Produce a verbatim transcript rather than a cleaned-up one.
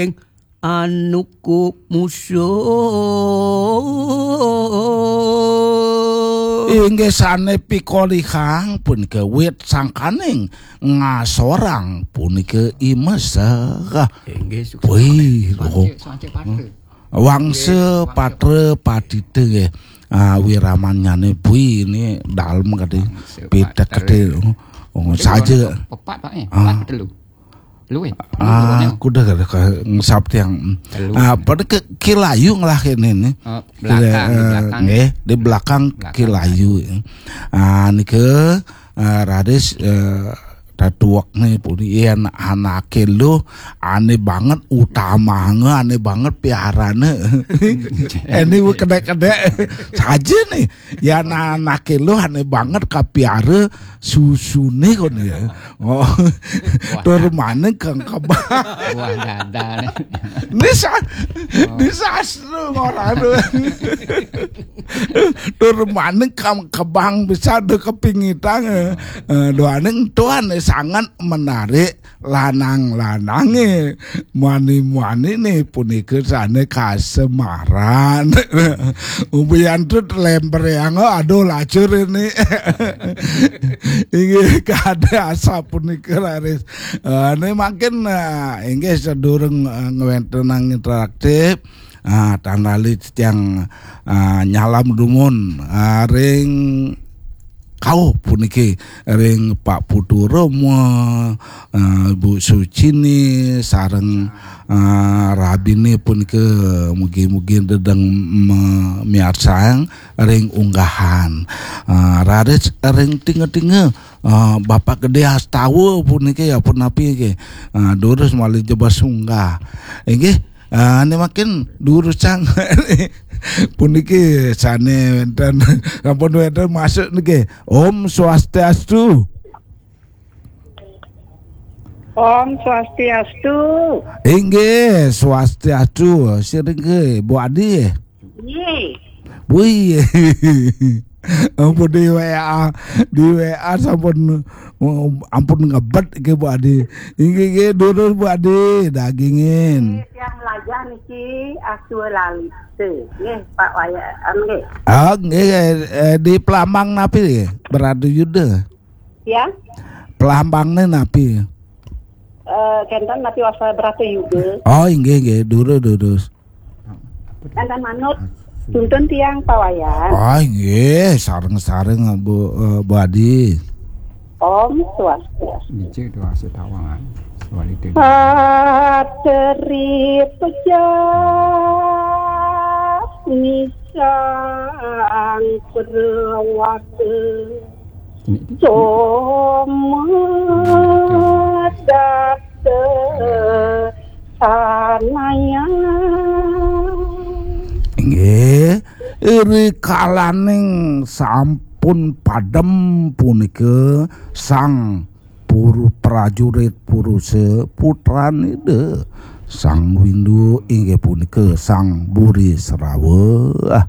Ing anu kumusuh. Inggih sane pikolihang punika wit sangkaning ngasorang punika imeseh. Inggih, suksma. Wih, loh. Swancik, swancik patra. Wangsa patra patita nggih. Ah, wiramanyane bui ini dalem kadi. Wangsa pitek patra. Kadi. Oh, oh, saja. Pepat, Pak, eh. Ah. Pepat telu. Telu, eh. Ah, kuda kada ka ngesap tiang. Telu. Ah, pada ke Kilayu ngelah kene ni. Oh, belakang, di belakang. Nggih, di belakang. Belakang Kilayu. Ah, nika, ah, raris, eh, tetuek ni puni yen anake lu ane banget utamane, ane banget piarane. Ini kedek-kedek saja nih. Ya anake lu ane banget kapiara susune kon ya. Oh. Wah. Tur maning kang kebang. Wah, dadane. Ini sa-, ini sastra ora anu. Tur maning kang kebang bisa do kepingitang. Eh, doaning Tuhan sangat menarik lanang-lanange, muani-muanine punika sane kasemaran. Ubiyan tut lemper yang, aduh, lacur ini. Inggih, kada asa punika raris. Eh, ini makin, eh, inggih sedurung, eh, ngwentenang interaktif. Ah, tan lali titiang, ah, nyalam dumun, ah, ring kauh puniki ring Pak Putu Roma, ah, Bu Sucini, sareng, ah, rabine punika mugi-mugi dedeng me-, miarsang ring unggahan. Ah, raris ring tinga-tinga, ah, Bapak Gede Astawa puniki ya punapi nggih. Ah, durus malih jebas unggah. Inggih, ah, ini makin durusang. Puniki sane wenten, sampun wenten masuk niki. Om Swastiastu. Om Swastiastu. Inggih, Swastiastu. Siring nggih, Bu Adi. Nggih. Wih. Ampun di W A, di W A sampun, ampun ngebet ke Bu Adi. Inggih, inggih, durus Bu Adi, dagingin. Nggih, tiang melajah niki Aswa Lalita. Nggih, Pak Wayan, nggih. Ah, nggih, eh, di Pelambang napi nggih? Beradu Yuda. Ya. Pelambangne napi? Eh, kenten napi wasta Bratayuda. Oh, inggih, inggih, durus, durus. Kenten manut tuntun tiang Pak Wayan. Oh, inggih, sareng-sareng Bu, eh, Bu Adi. Om Swastiastu. Niki doa setawangan. Swastiastu. Pateri pejah nisang perawata. Somadata sanaya. Inggih, rikalaning sampun padem punika sang puru-, prajurit purusa putranida Sang Windu inggih punika Sang Buri Srawa.